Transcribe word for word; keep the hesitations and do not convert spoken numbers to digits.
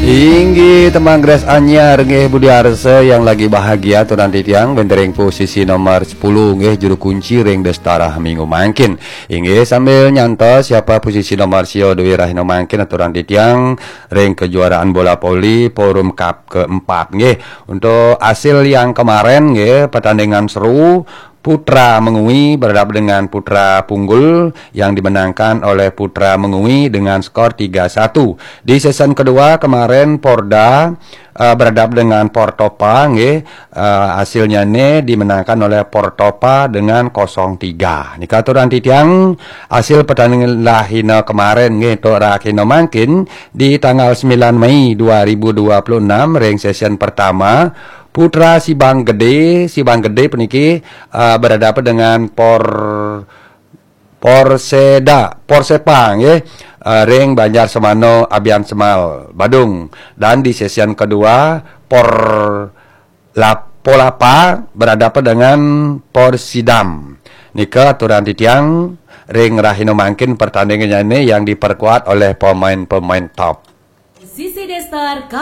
Inggih, teman Grace Anyar nggih, Budi Arsa yang lagi bahagia, aturan titiang, wénten ring posisi nomor sepuluh nggih, juru kunci ring Destara minggu mangkin. Inggih, sambil nyantos siapa posisi nomor sia duwé rahina mangkin, aturan titiang, ring kejuaraan bola voli Forum Cup keempat nggih. Untuk hasil yang kemarin nggih, pertandingan seru, Putra Mengwi berhadapan dengan Putra Punggul yang dimenangkan oleh Putra Mengwi dengan skor tiga satu. Di sesi kedua kemarin Porda eh, berhadapan dengan Portopa nggih, eh, hasilnya ini dimenangkan oleh Portopa dengan kosong tiga. Nika aturan titiang, hasil pertandingan rahina kemarin nggih, untuk rahina mangkin di tanggal sembilan Mei dua ribu dua puluh enam ring sesi pertama, Putra Sibang Gede, Sibang Gede puniki eh, berhadapan dengan Por Porseda, Porsepa nggih, eh, ring Banjar Semano, Abian Semal, Badung. Dan di sesi kedua, Por Lap- Polapa berhadapan dengan Porsidam. Nika aturan titiang ring rahina mangkin, pertandingan ini yang diperkuat oleh pemain-pemain top. Sisi Destar Cup